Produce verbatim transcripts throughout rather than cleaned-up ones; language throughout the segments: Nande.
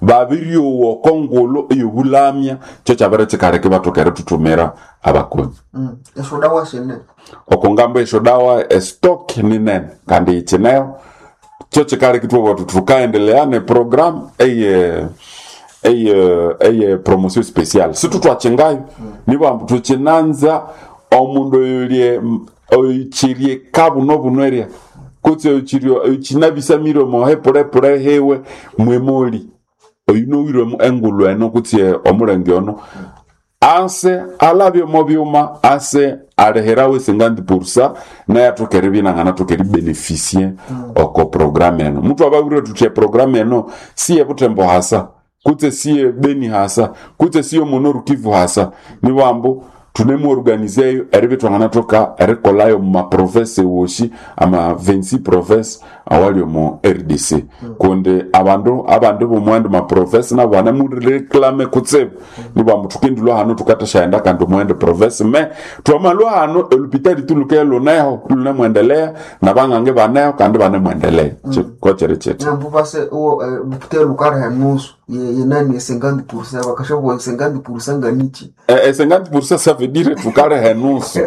Babiryowa oko ngulu eyobulamya, kyo kyabere kikaleka ibathoka erithuthumira abakonyi. Mm. Esyodawa sine. Oko ngambo esyodawa estock ni nene kandi yikineho, kyo kikaleka ithwabugha thuthi thukaendelea ne program eye eye eye promotion special. Situthwakingayo, nibambu thukinanza omundu oyulye oyikyirye kabuno buno erya kutse oyukirye oyukinabisamire omo hepulepule hiwe mwemoli oyunowire engulhu eno kutse omulenge ono ase alabye omo byuma ase alihirawo cinquante pour cent naye athoke eribya inanganathoka eribeneficie oko programu eno. Muthu ababwire thuthi eprogramu eno siye Butembo hasa kutse siye Beni hasa kutse siye mu Nord Kivu hasa, nibambu tunemuorganizeyo eribya thwanganathoka erikolayo mu maprovince wosi ama vingt-six province awali omu R D C, kundi abandu abandu bomuwandi maprovince nabo banemureklame kutsibu. Nibambu thukendilwa hano thukathasyaghenda kandi omuwandi province me twamalwa hano elupitali tuluke luneho lunemwendelea nabang'ange baneho kandi banemwendelea. Kokyeri kyithi. Nambu base lupitali lukaliha enusu ye- yenani cinquante pour cent, bakashabuwa cinquante pour cent nganichi? Eh, eh, cinquante pour cent ça veut dire tukaliha enusu.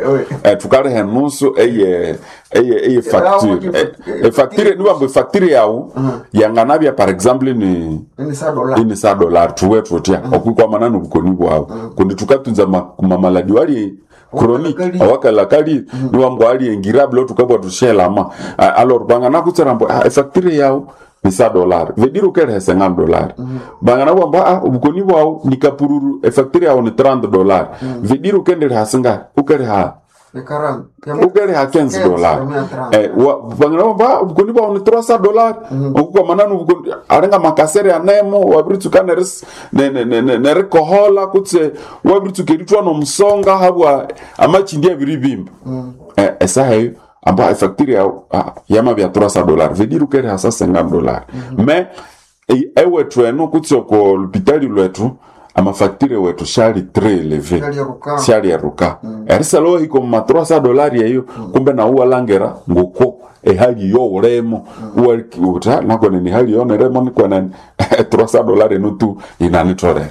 Eh, tukaliha enusu eye eye eye facture. Eh, eh, facture nibambu efacture yawu yanganabya par exemple ni ini sa dollar. Ini sa dollar thuwe thutya okwikwamana nobukoni bwawu, kundi thukatunza ma- mamaladi wali chronique Awakalakali. Awakalakali, niwambu ali ingirable thukabwa thushelama. Alors banganakutsira mbu ah, efacture yawu ni sa dollar veut dire ukeliha cinquante dollar. Banganabwa mbu ah, obukoni bwawu ni kapururu, efacture yawu ni trente dollar veut dire ukendeliha singahi? Ukeliha Ekarani ukeliha quinze dollar. Eh, wa- bangana obukoni bwawu ni trois cents dollar okukwamana nobukoni alinga makasere anemo wabiritsuka neris- ne- ne- ne- ne- nerikohola kutse wabiritsuka erithwa nomusonga habwa amakindi abiribimba. Eh, esaha eyo amba efacture yawu ah, yamabya trois cents dollar veut dire ukeliha sa cinquante dollar. Mais e- ewethu eno kutse oko lupitali lwethu amafacture wethu syali très élevé. Syalyeruka. Syalyeruka erisala wahika omu ma trois cents dolari eyo, kumbe nawu walangera ngoko ehali yowulemo uti nakwenene ehali yoneremo nikwenene trois cents dolari eno tu inanitholere.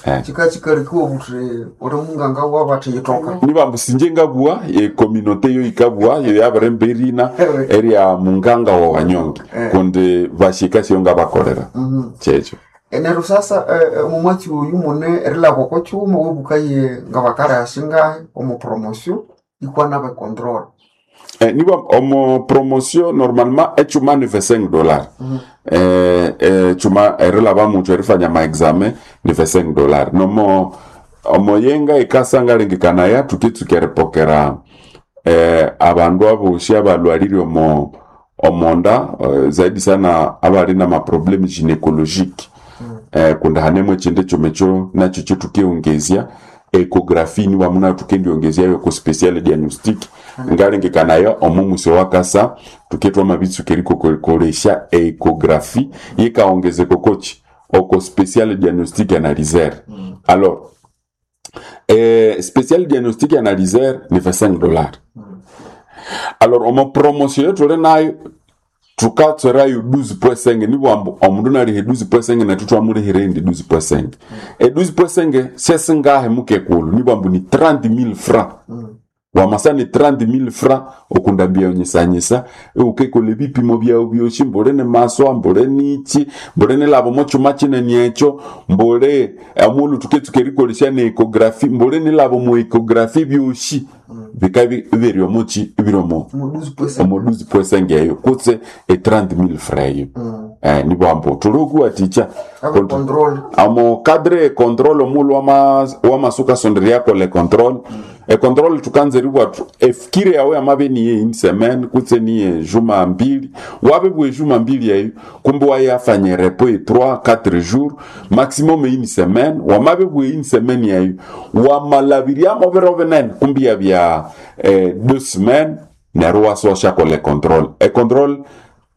Eh. Chika chikalikiwa buthi uli munganga wabathi yitoka. Nibambu sinje ngabua ecommunauté yo ikabua yo yabiremba erina erya munganga wa wanyonge kundi bashika syo ngabakolera kyekyo. Neryo sasa eh, eh, mumwatsi oyu mune erilaba oko kyuma webukaye nga bakaliha singahi omu promotion ikwana becontrol. Eh, niba omo promotion normalement echuma ni vingt-cinq dollars. eh, eh, chuma erilaba muntu erifanya maexamen ni vingt-cinq dollars nomo omoyenga ikasanga lengekanaya tukitsuka eripokera eh, abandu abosi abalwalire omo omonda eh, zaidi sana abali na maproblème gynécologique eh, kundi hanemo echindi chuma ekyo nakyo kyetukiongezya échographie, niwamu nayo tukendiongezyayo ku special diagnostic. Ngalengekanayo omu musi wakasa tuketwa mabitsuka erikokolesya échographie yikaongezeka kochi oko special diagnostic analyseur. Alors eh, spécial diagnostic analyseur ni vingt-cinq dollars. Alors omo promotion yetuli nayo tukatswerayo douze point cinq, nibwambu omundu nalihe douze point cinq nethu twamulihira indi douze point cinq. E douze point cinq syesingahe mukekulu? Nibwambu ni trente mille francs. Wamasa ni trente mille francs okundambia onyisanyisa ukekola ebipimo byawu byosi, mbule ni maswa, mbule nichi, mbule nilaba omo kyuma kinene ekyo, mbule omulhu tuketsuka erikolesya ne échographie, mbule nilaba omu échographie, byosi bika biri omuki ibiri omu Omu douze point cinq. Omu douze point cinq eyo kutse e trente mille francs eyo. Eh, nibwambu tuli okuwatikya Abe control. Amo cadre e contrôle omulhu wama wamasuka sonderyako le contrôle e contrôle tukanza eribwa tu efikire yawe yamabe niye une semaine kutse niye juma mbili, wabe bwe juma mbili eyo kumbe wayafanya repos e trois quatre jours maximum une semaine. Wamabe bwe une semaine yayo wamalabiriamo biro binene kumbe yabya eh, deux semaines, neryo wasosha le contrôle e contrôle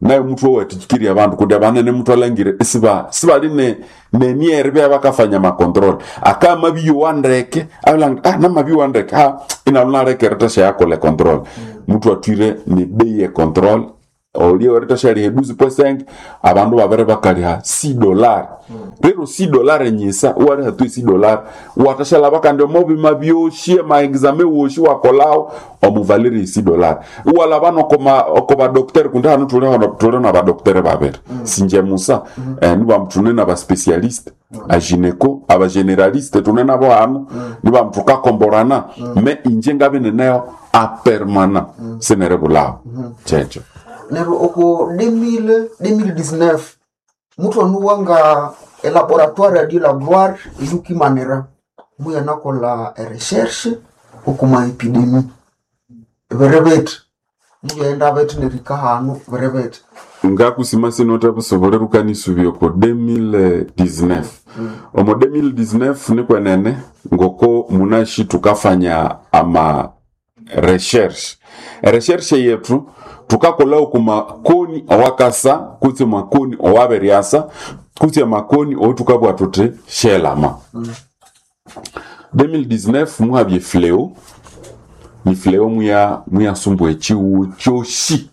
nayo muthu owatikiria abandu kundi abanene muthu alangire isiba sibali ne neniere bya bakafanya macontrôle akamabiyowa ndeke abilanga ah namabiyowa ndeke ha inalo nalekere tasha yakole contrôle. Muthu atwire ni bei ye contrôle. olio eritashyaliha douze point cinq abandu babere bakaliha six dollars rero six dollars enyisa wariha tu six dollars watashalaba kandi omo bima byoshi ema examen woshi wakolawo omuvalire six dollars walaba nokoma oko badocteur kundi hano tuli hano tuli na badocteur babiri sinje musa eh, niba tune na baspecialiste a gynéco aba généraliste tune nabo hano niba tukakomborana me inje ngabe neneyo a permanent sinere bulawo checho neryo oko deux mille deux mille dix-neuf mutu anuwanga elaboratoire ya Dieu la gloire eyukimanira muyanakola erecherche okuma épidémie biri bithi mubyenda bithi nerika hanu biri bithi. Ngakusima sinota busobole rukanisubya oko deux mille dix-neuf. Omo deux mille dix-neuf nikwenene ngoko munashi tukafanya ama recherche recherche yetu tukakola oku makoni owakasa kutse makoni owaberyasa kutse makoni otukabwa tuti shelama. deux mille dix-neuf muhabye fléau ni fléau muya muyasumbwa echiwu kyoshi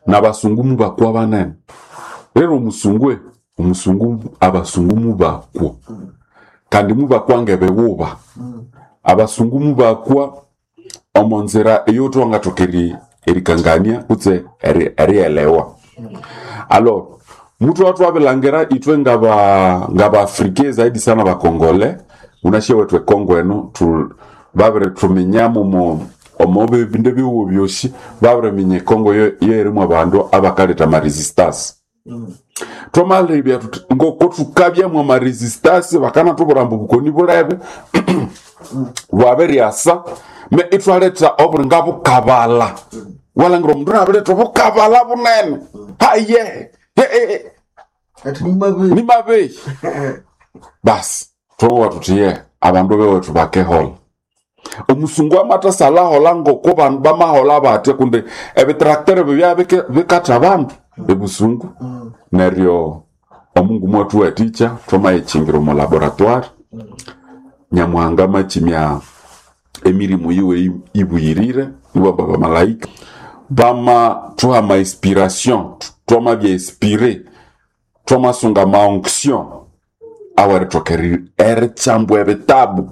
n'abasungu mubakwa banene rero omusungwe omusungu abasungu mubakwa kandi mubakwa ngebewuba abasungu mubakwa omo nzira eyotwangathoka eri erikangania kutse eri- erielewa. Alors mutu watu wabilangira itwe ngaba ngaba afrike zaidi sana bakongole unashe wethu ekongo eno tu babire tuminyamo mo omo bibindu biwo byoshi babire minya ekongo yo yerimu abandu abakaleta ma resistance twamalebya tuti ngoko tukabyamwa ma resistance bakana tubura mbu bukoni bulebe bwabiryasa me itwaletha obulinga bukabala walangira omundu nabiletha obukabala bunene haye he- he- he, ati nimabe nimabeyi basi twowa tuti ye abandu bewethu bakehola omusungu amathasalahola ngoko bandu bamahola batya kundi ebitracteur bibya bike- bikatha abandu ebusungu. Neryo omungu mwathu waticha twamayichingira omu laboratoire nyamuhanga makimya emirimu yiwe ibuyirire nibo bamalaika bama thuha ma inspiration twamabya inspiré twamasunga ma onction awerithoka eri- eritsambwa ebitabu.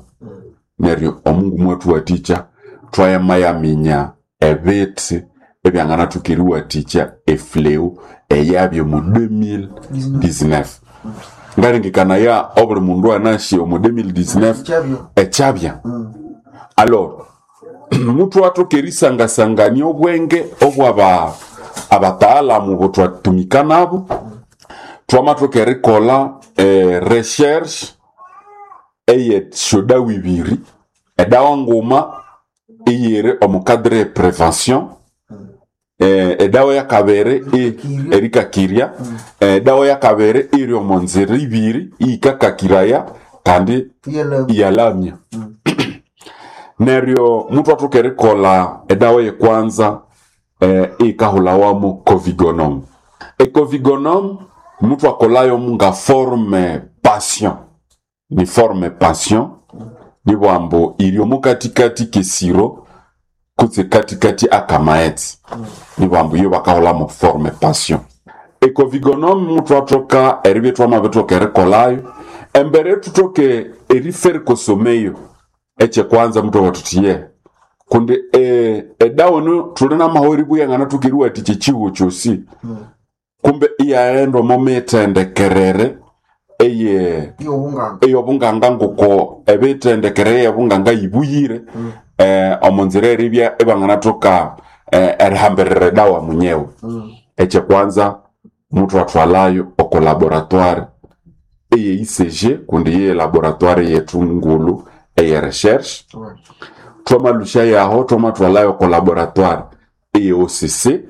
Neryo omungu mwathu waticha twayamayaminya ebithi ebyanganathuka eriwathikya efleu eyabya omu deux mille dix-neuf. Ngalengekanaya obuli mundu anasi omu deux mille dix-neuf kyabyo ekyabya. Alors mutu athoka erisangasangania obwenge obwaba abataalamu botwatumika nabo twamathoka erikolha eh, recherche eyesyodawa ibiri edawa nguma iyiri omu cadre e prévention eh, edawa yakabiri i- erikakirya edawa yakabiri iri omu nzira ibiri iyikakakiraya kandi yele iyalamya. Neryo mutu athoka erikolha edawa yekwanza eh, iyikahulhawamu covigonom. Ecovigonom mutu akolayo nga forme passion ni forme passion nibwambu iri omu katikati kesiro kutse katikati akamaetsi nibwambu iyo bakahulhamu forme passion. Ecovigonom mutu athoka eribya twamabithoka erikolayo embere tuthoke eriferikosomeyo ekyekwanza mutu awathuthi ye kundi e, edawa eno thuli namaho eribuya nganathoka eriwathikya ekyihugho kyosi kumbe iyaghenda omo mithendekerere eye yobunganga eyobunganga ngoko ebithendekere eyobunganga yibuyire eh, omo nzira eribya ibanganathoka eh, erihambirira edawa munyewe. Ekyekwanza mutu athwalayo oko laboratoire eye I C G kundi ye laboratoire yethu ngulu eye recherche. Twamalusha yaho twamathwalayo oko laboratoire eye O C C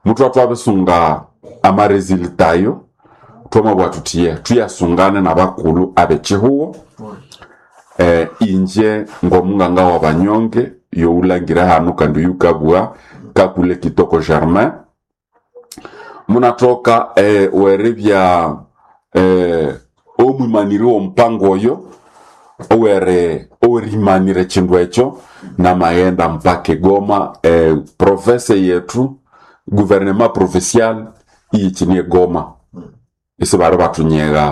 mutu athwabisunga amaresulta ayo twamabugha thuthi ye thuyasungane nabakulhu abekyihugho eh, inje ngomunganga wa banyonge youlangire hanu kandi yukabugha kakule Kitoko Germain munathoka eh, weribya eh, omwimaniri w'omupango oyo owere owerimanira ekindu ekyo namaghenda mpaka egoma eh, profesa yetu Gouvernement provincial iyichini Goma isi bari batunyega.